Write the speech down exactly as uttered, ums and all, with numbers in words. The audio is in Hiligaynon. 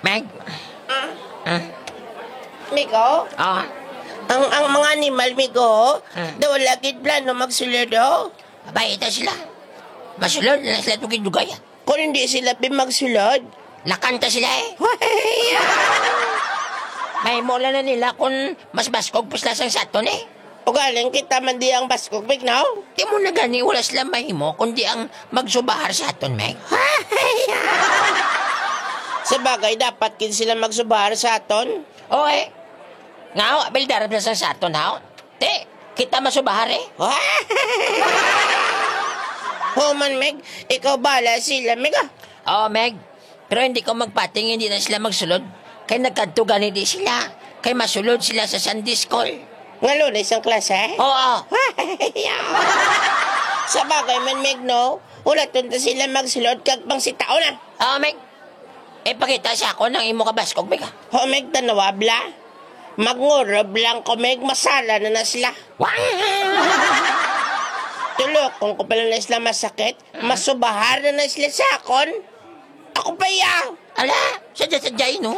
Meg? Ah? Migo? Ah? Ang, ang mga animal, Migo, Hmm. daw wala gid plano magsulod, oh. Abay, ita sila. Masulod na sila tugid dugay. Kung hindi sila pi magsulod, nakanta sila, eh. Mahimo lang na nila kung mas baskog pa sila sang saton, eh. Ugaling kita man di ang baskog, Migo, no? Di mo na gani wala sila mahimo, kundi ang magsubahar sa aton, Meg. Sa bagay, dapat gid sila magsubahar sa aton. Oo, eh. Nga, oh, abil darab na sa, sa aton, ha? Ti, kita masubahar, eh. Human, Meg, ikaw bala sila, Meg, ah. Oo, Meg. Pero hindi ko magpating, hindi na sila magsulod. Kay nagkadto gani di sila. Kay masulod sila sa Sunday school. Nga Lunes ang klase? Oo. Sa bagay man, Meg, no? Wala tunta sila magsulod kag pang sitaon, ah. Oo, Meg. Eh, pakita sa ako nang imo kabaskog, Meg, ah. Ho, Meg, tanawa, bla. Magngurab lang ko, Meg, masala na na sila. Wang! Tulokon ko pala na sila masakit. Masubahar na na sila sa akon. Ako pa iya. Ala, sadya-sadya, no?